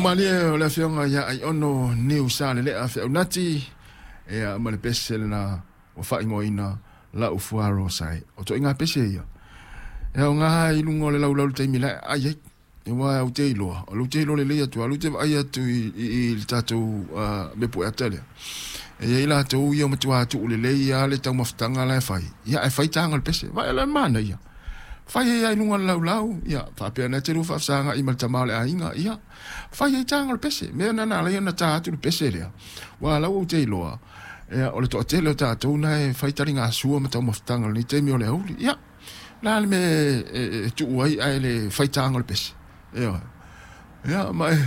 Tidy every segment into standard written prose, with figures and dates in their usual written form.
Malie o le afioga ia Aiono Niu Sa Lelea Feaunati ia ma le pese lena ua faaigoaina La'u Fuaroa Sae. O toaiga pese ia e aoga i luga o le laulau i le taimi la e ai ai. Aua au te iloa, o lou te iloa lelei atu, alu te vaai atu i le tatou mea pueata lea. E i ai latou ia matua tuu lelei lava le taumafataga la e fai, ia ae fai taga o le pese. Vaai la le manaia. Fai ai lava i luga o le laulau, ia faapea na te lua faafesagai ma le tama o le aiga, ia fai ai taga o le pese. Mea na na ala ai ona ta atu le pese lea. Ua lau ou te iloa, ia, o le toatele o tatou na e fai taligasua ma taumafataga i lenei taimi o le aoauli. Ia, o le a le mea e tuu ai ae le fai taga o le pese? Ioe. Ia, ma e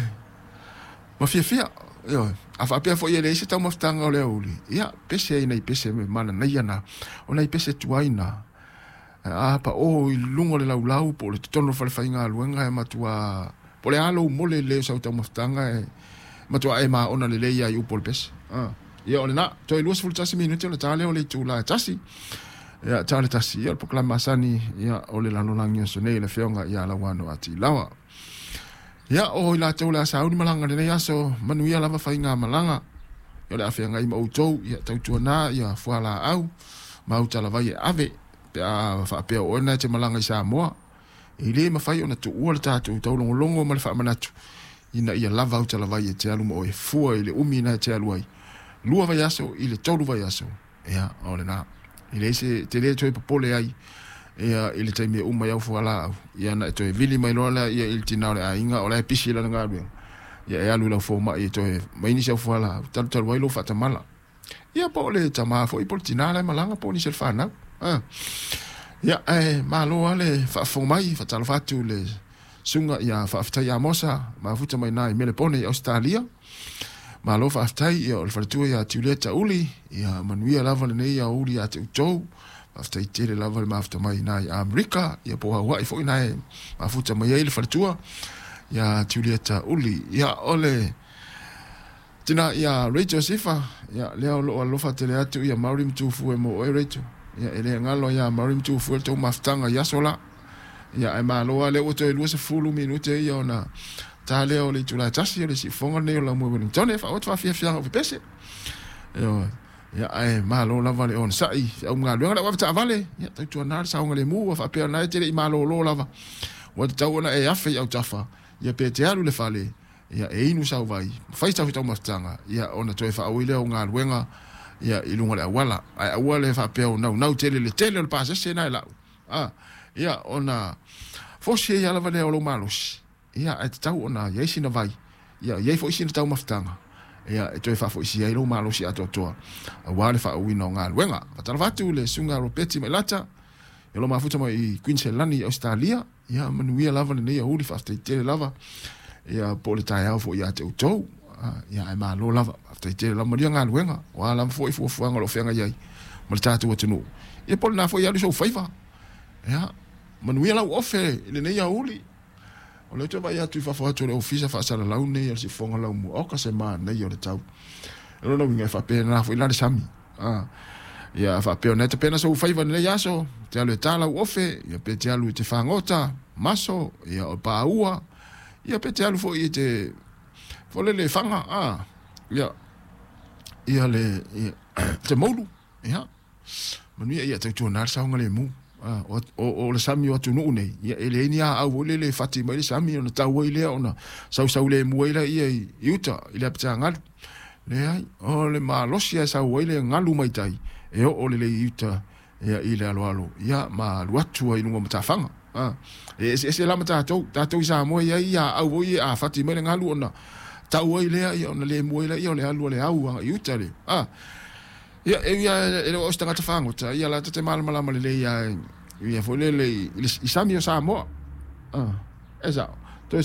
ma fiafia. Ioe. A faapea foi e leai se taumafataga o le aoauli, ia, pese ai nai pese mananaia na, o nai pese tuai na. A pao i luga o le laulau po o le totonu o le fale faigaluega e matua po o le a lou mole lelei o sau taumafataga e matua e maona lelei ai upu o le pese. Ia o lena, toe 21 minute o le ta lea o le itula e 1. Ia, ta le 1, ia o le polokalame masani, ia o le lalolagi o aso nei le afioga ia Lauano Atilawa. Ia, o i latou le a sauni malaga lenei aso, manuia lava faiga malaga. Ia o le a feagai ma outou, ia tautuana, ia fualaau, ma autalavai e ave, pe a faapea o oe na e te malaga i Samoa. E le mafai ona tuua le tatou taulogologo ma le faamanatu, ina ia lava autalavai e te alu ma oe fua i le umi na e te alu ai. 2 vaiaso i le 3 vaiaso, ia, o lena. E leai se te le toe popole ai, ia, i le taimi e uma ai au fualaau, ia na e toe vili mai loa lea, ia, i le tina o le aiga, o la e pisi lana galuega, ia e alu i lau fomai e toe mai nisi au fualaau, talutalu ai lou faatamala. Ia, po o le tama foi, po o le tina la e malaga, po o nisi o le fanau. Ia, ae malo lava le faafofoga mai, faatalofa atu le susuga ia Faafetai Amosa, mafuta mai na i Melepone i Ausetalia. Malo faafetai, ia o le faletua ia Tiuleta Uli, ia manuia lava lenei aoauli ia te outou. Faafetai tele lava le mafuta mai na i Amerika, ia po o Hawaii foi na e mafuta mai ai le faletua ia Tiulieta Uli. Ia o le tina ia Rachel Sifa, ia lea o loo alofa tele atu ia Maori Matufu e mo oe Rachel. Ia e le galo ia Maori Matufu e le tou mafutaga i aso la. Ia ae malo lava lea ua toe 20 minute ia ona ta lea o le itula e 1 o le siufofoga lenei o Laumua Wellington e faaauau atu faafiafiaga o pepese. Ia ae malo lava le onosai feau ma galuega le au avetaavale, ia tautuana le saogalemu ua faapea ona e te le i malolo lava. Ua tatau ona e afe i autafa, ia pe te alu i le fale, ia e inu sau vai, fai sau taumafataga, ia ona toe faaui lea o galuega ia i luga o le auala. Ae aua le faapea o naunau tele le tele o le pasese na e lau. Ia ona fosi ai lava lea o lou malosi, ia ae tatau ona i ai sina vai, ia i ai foi sina taumafataga, ia e toe faafoisia ai lou malosi atoatoa aua le faauiina o galuega. Faatalofa atu le susuga Ropeti Mailata, ia lo mafuta mai i Queensland i Australia, ia manuia lava lenei aoauli, faafetai tele lava, ia po o le taeao foi ia te outou. Ia ae malo lava, faafetai tele lava, manuia galuega, o a lava foi fuafuaga o lo o feagai ai ma le tatou atunuu. Ia po o lena foi e alu sou faiva. Ia manuia lau ofe i lenei aoauli. O lea ou te vaai atu i fafo atu o le ofisa faasalalau nei o le siufofoga laumua, oka se manaia o le tau. O lona uiga e faapena foi la le sami. Ia faapea ona e tapena sou faiva i lenei aso, te alu e ta lau ofe, ia pe te alu i te fagota, maso, ia o paua, ia pe te alu foi i te folele faga, ia, ia le, ia, te moulu, ia. Manuia ia tautuana le saogalemu. O le sami o atunuu nei, ia e leai ni aau foi lele e fati mai le sami ona tau ai lea ona sausau lemu ai lea i uta i le apitagalu. Leai, o le malosi e sau ai le galu mai tai e oo lelei i uta ia i le aloalo ia ma alu atu ai i luga o matafaga. E eseese la ma tatou, tatou i Samoa e i ai aau foi ia a fati mai le galu ona tau ai lea ia ona lemu ai lea ia o le alu a le au agai i uta le. Ia, e ui lava e le o au se tagata fagota, ia la ta te malamalama lelei lava ia foi lele i sami o Samoa. E sao. Toe